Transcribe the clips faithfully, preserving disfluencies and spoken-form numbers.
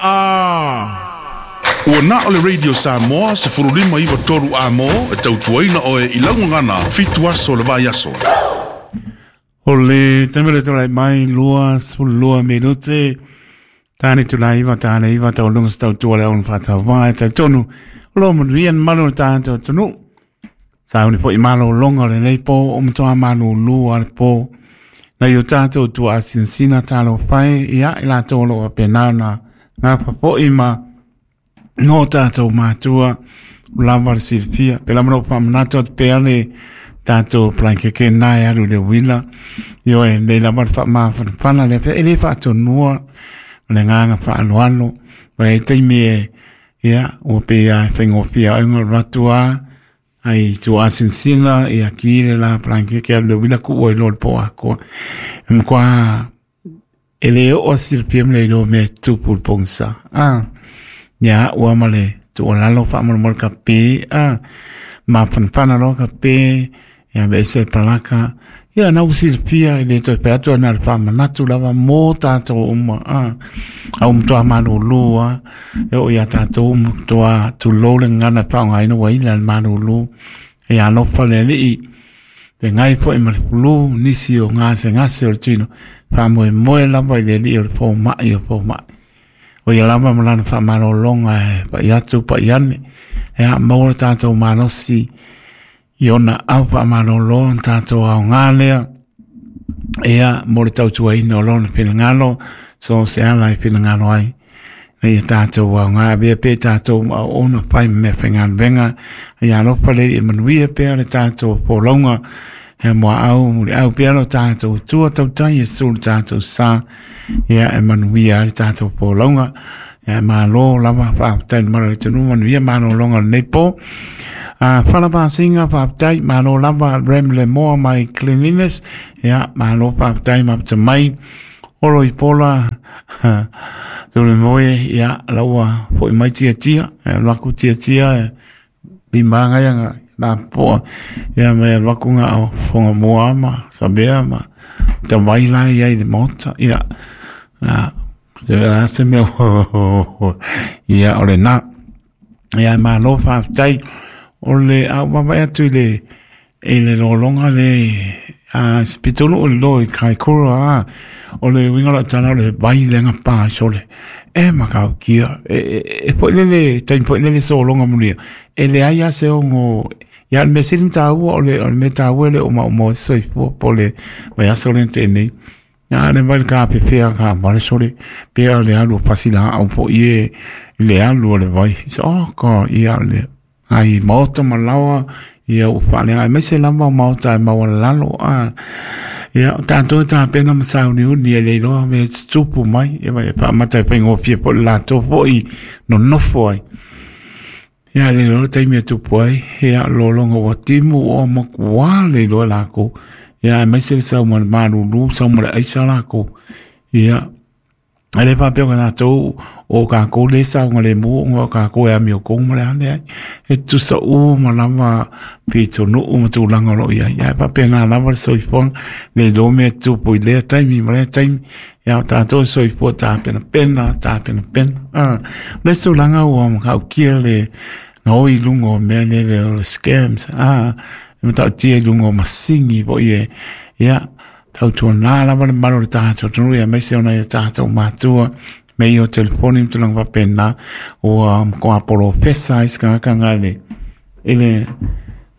Ah. Ua na o le Radio Samoa se furulima iwa toru a mo e tautuaina oe i laugagana fitu aso le vai aso. O le taimi le mai lua sefulu lua minute tane tulai iwa tane iwa tauluga se tautua le aunu faatauvaga e talitonu o loo manuia le malu o le tatou atunuu sauni foʻi malōloga o lenei po o matoā malūlū a le po nai o tatou tuaasinasina talofae ia i latou o loo faapena ona gafafoʻi ma no tatou matua lava le silafia pe lava lou faamanatu atu pea le tatou palaikeke na e alu i le uila ioe lei lava le faamafanafana lea pea e lē faatonua ma le agaga faaaloalo ua ai taimi e ia ua pei a e faigofie ai ona alu atu a ai tuuasinasina ia ki le la palaikeke alu le uila kuʻu ai loa le po akoa e makuā e lē oo silafia ma le iloa mea e tupu le pogisa a ia ua ma le tuualalo faamolemole kape a mafanafana loa kape ia aveese le palaka ia na ua silafia e lē toe fai atu ana le faamanatu lava mo tatou uma a au matoā malūlū a e oo iā tatou matoā tulou le gagana e faaaogaina ua ila le malūlū e alofa le alii fegai foʻi ma le fulu nisi o gasegase o le tino faamoemoe lava i le alii o le fomaʻi o fomaʻi o ia lava ma lana faamalōloga e paʻi atu paʻi ane e maua le tatou malosi i ona au faamalōlō na tatou aogā lea ia mo le tautuaina o lona finagalo so se ala e finagalo ai na ia tatou aogā avea pea tatou ma auauna fai ma mea faigaluega ia alofa le e manuia pea le tatou folauga e muaau muliau pea lo tatou tua tautai e su le tatou sa ia e manuia ai le tatou folauga ia malo lava faafetai le malo le atunuu manuia malōloga o lenei po. Uh, Fala faafetai malo lava rem le moa my cleanliness ia malo faafetai mapata mai olo i pola tule moe ia laua foʻi mai tiatia e alu aku tiatia e limaga ia na poa ia mai alu aku gao foga moa ma sabea ma tawai la ia i le maota ia a se se mea ia o le na ia malo faafetai o le au vavae atu i le i le lologa le a sepitolu o le lo i Kaikoura a o le uiga o lau tala o le vai le agapā sole e makaukia e e e foʻi lele taimi foʻi lele sologa mulia e leai a se ogo ia le mea sili ona taua o le o le mea taua e le o maumau ai se soifua po o le vaiaso lea na tea nei a le vai le kapepea ka vale sole pea le alu o pasi laau foʻi e i le alu o le vai so oh ka ia le ai maota ma laoa ia ua faaleaga aemaise lava o maota e maualalalo a ia o tatou e tapena ma sauniuni e le iloa mea e tutupu mai ia e faamata e faigofie foʻi le latou foʻi nonofo ai ia le iloa le taimi e tupu ai ia lologa ua timu ua makuā le iloa e lakou ia aemaise le sau ma le malūlū sau ma le aisa lakou ia e le faapea o tatou o kakou le saogalemu ona o kakou e amiokou ma le a leai e tutusa uma lava pitonuu ma tulaga o loo iai ae faapena lava le soifuaga le iloa mea e tupu i lea taimi ma lea taimi ia o tatou e soifua tapenapena tapenapena a le tulaga ua matautia le gaoi i luga o mea lele o le scams a e matautia i luga o masini foʻi e ia tautuanā lava le malu o le tatou atunuu aemaise ona ia tatou matua me ia o telefoni ma tulaga faapena ua matua polofesa ai se tagata le i le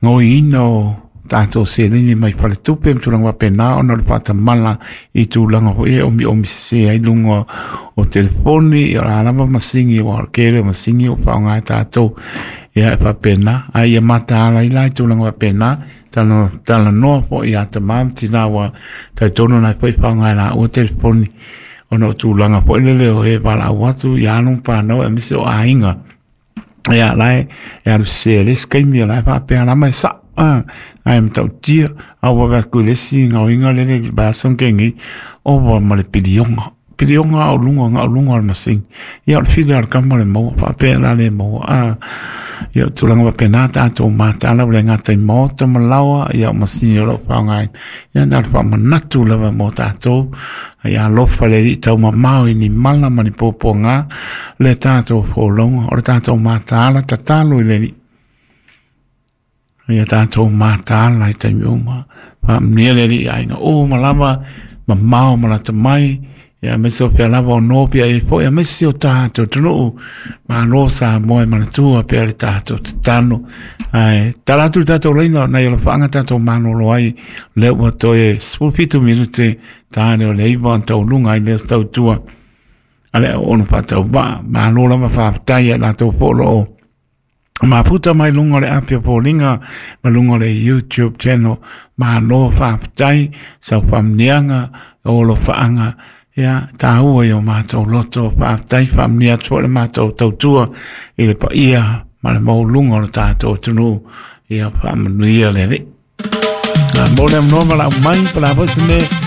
gaoiina o tatou seleni mai faletupe ma tulaga faapena ona o le faatamala i tulaga foi e omiomi sese ai luga o telefoni ia o le a lava masini ua o le tele o masini ua faaaoga e tatou ia e faapena ae ia mataala ai la i tulaga faapena tala talanoa foʻi ia tamā ma tinā ua talitonu na foi faaaoga e laua telefoni ona o tulaga foʻi lele o e valaau atu ia alo ma fanau aemaise o aiga ia la e e alu sese le isi taimi o la e faapea lava e saʻo a ae matautia a ua vaai atu i le isi gaoiga lele i le vaiaso na tea nei ova ma le piliona Pilioga au luga ga'u luga o le masini. Ia o le fili a le kama le maua faapea la le maua a. Ia o tulaga faapena tatou mataala ua le gata i maota ma laoa, ia o masini o loo faaaogaina. Ia na o le faamanatu lava mo tatou. Ia alofa le Alii taumamao i ni mala ma ni puapuaga le tatou folauga o le tatou mataala tatalo i le Alii. Ia tatou mataala i taimi uma. Faamanuia le Alii i aiga uma lava, mamao ma lata mai, ia aemaise o fea lava o nopi ai foi, aemaise o tatou atunuu. Malo Samoa e manatua pea le tatou tatalo. Ae tala atu le tatou laina nai o lafaaga tatou malolo ai, lea ua toe sefulu fitu minute tane o le iva ona tauluga ai lea o se tautua a le auauna faatauvaa. Malo lava faafetai ia latou foi o loo mafuta mai luga o le api o foliga ma luga o le YouTube channel. Malo faafetai sau faamniaga o alofaaga ia taua i o matou loto. Faafetai faamanuia atu foi le matou tautua i le paia ma le maualuga o le tatou atunuu. Ia faamanuia le Alii. Mo le avanoa ma lau mai pa le a foi se mea.